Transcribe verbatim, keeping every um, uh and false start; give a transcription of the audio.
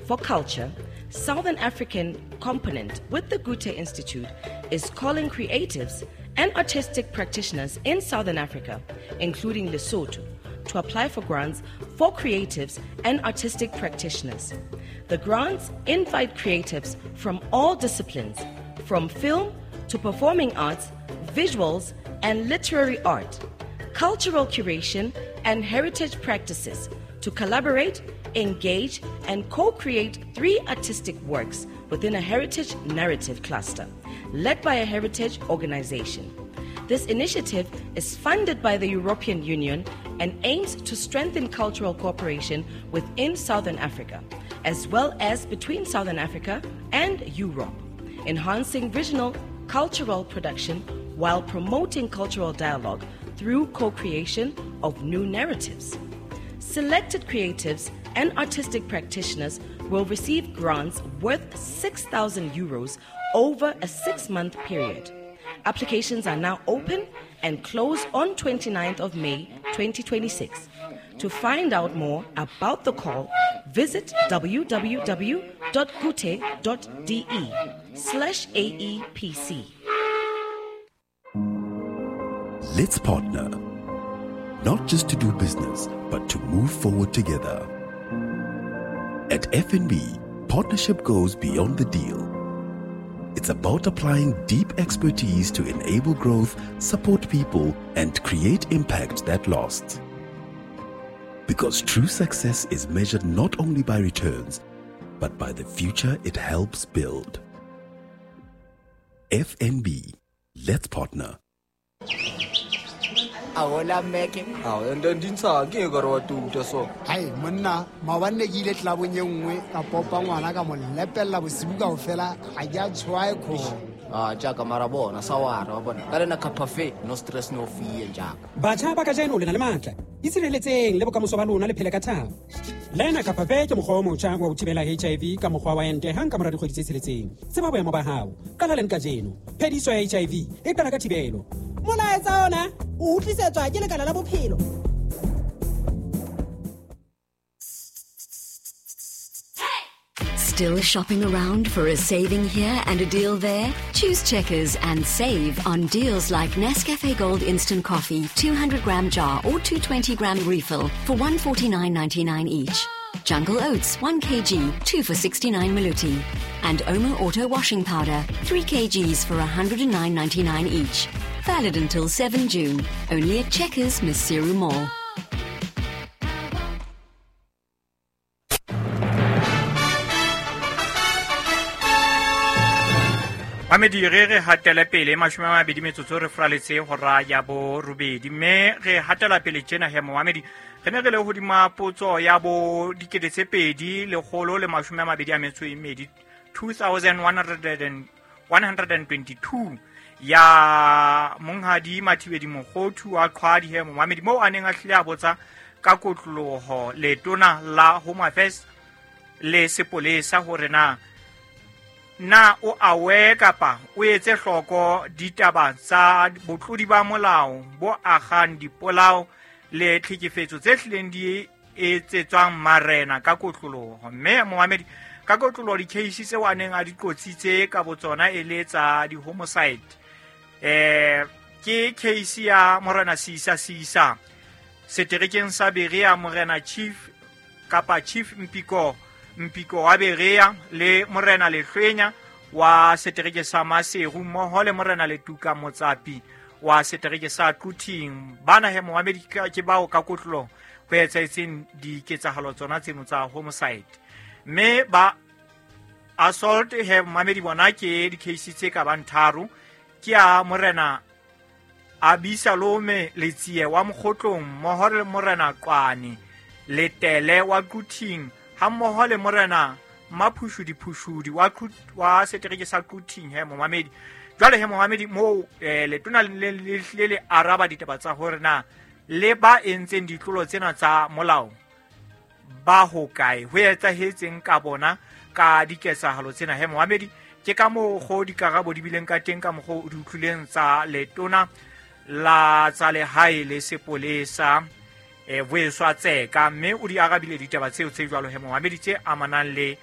for Culture, Southern African component with the Goethe Institute is calling creatives and artistic practitioners in Southern Africa, including Lesotho, to apply for grants for creatives and artistic practitioners. The grants invite creatives from all disciplines, from film to performing arts, visuals and literary art, cultural curation and heritage practices to collaborate, engage and co-create three artistic works within a heritage narrative cluster led by a heritage organization. This initiative is funded by the European Union and aims to strengthen cultural cooperation within Southern Africa, as well as between Southern Africa and Europe, enhancing regional cultural production while promoting cultural dialogue through co-creation of new narratives. Selected creatives and artistic practitioners will receive grants worth six thousand euros over a six-month period. Applications are now open and close on twenty-ninth of May twenty twenty-six. To find out more about the call, visit w w w dot goethe dot d e slash A E P C. Let's partner, not just to do business, but to move forward together. At F N B, partnership goes beyond the deal. It's about applying deep expertise to enable growth, support people, and create impact that lasts. Because true success is measured not only by returns, but by the future it helps build. F N B, let's partner. Ahola meke. Ah, and then dinsa ke ka re wa tuta so. Hai monna, maobane ke ile tlabong e nngwe ka popa ngwana ka mo lepella bosibu kaofela, ha ke a tshwae kho. Ah, jaaka mara bona sa wara wa bona. Ka lena cafe, no stress no fear jaaka. Batjha ba kajeno le na le matla. Itshireletseng le bokamoso ba lona le phele ka thabo. Lena Cafe ke mokgwa o motjha wa ho thibela H I V ka mokgwa wa ente hang ka mora dikgwedi tse tsheletseng. Tseba boemo ba hao. Qala leng kajeno. Phediso ya H I V e qala ka thibelo. Molaetsa ona o utlwisetswa ke Lekala la Bophelo. Still shopping around for a saving here and a deal there? Choose Checkers and save on deals like Nescafe Gold Instant Coffee, two hundred gram jar or two twenty gram refill for one forty-nine ninety-nine each. Jungle Oats, one kilogram, two for sixty-nine maluti. And Omo Auto Washing Powder, three kilograms for a hundred and nine ninety-nine each. Valid until seven June. Only at Checkers, Maseru Mall. Mamedi re re hatela pele mashome a mabedi metsotso re fraletse hora ya borobedi mme re hatela pele tjena he Mohamedi re ne re le hodima potso ya bo dikete tse pedi lekgolo le mashome a mabedi a metso e mmedi two thousand one hundred and twenty-two ya monghadi Mathibedi Mokhothu wa Qhwadi he Mohamedi moo a neng a hlile a botsa ka kotloloho letona la Home Affairs le sepolesa hore na na o awe kapa o etse hloko ditaba tsa botlodi ba molao bo agang dipolao le tlhekefetso tse hlileng di etsetswang marena ka kotloloho mme Mohamedi ka kotloloho di-case tseo a neng a di qotsitse ka botsona e le tsa di-homicide eh ke case ya Morena Sisa Sisa seterekeng sa Berea Morena Chief kapa Chief Mpiko Mpiko wa Berea le Morena Lehlwenya wa setereke sa Maseru mmoho le Morena Letuka Motsapi wa setereke sa Quthing bana he Mohamedi ke bao ka kotlolo ho etsahetseng diketsahalo tsona tseno tsa homicide mme ba assault he Mohamedi bona ke di-case tse ka bang tharo ke ya Morena Abisalome Letsie wa Mokgotlong mmoho le Morena Qwane Letele wa Quthing hammoho le Morena Maphushudi Phushudi wa wa setereke sa Quthing he Mohamedi jwale he Mohamedi moo eh, letona le le le araba ditaba tsa hore na le ba entseng ditlolo tsena tsa molao ba hokae ho etsahetseng ka bona ka diketsahalo tsena he Mohamedi ke ka moo go dikarabo di bileng ka teng ka mokgwa o di utlwileng tsa letona la tsa lehae le sepolesa e Vuyiswa Tseka mme o di arabile ditaba tseo tse jwalo he Mohamedi tse amanang le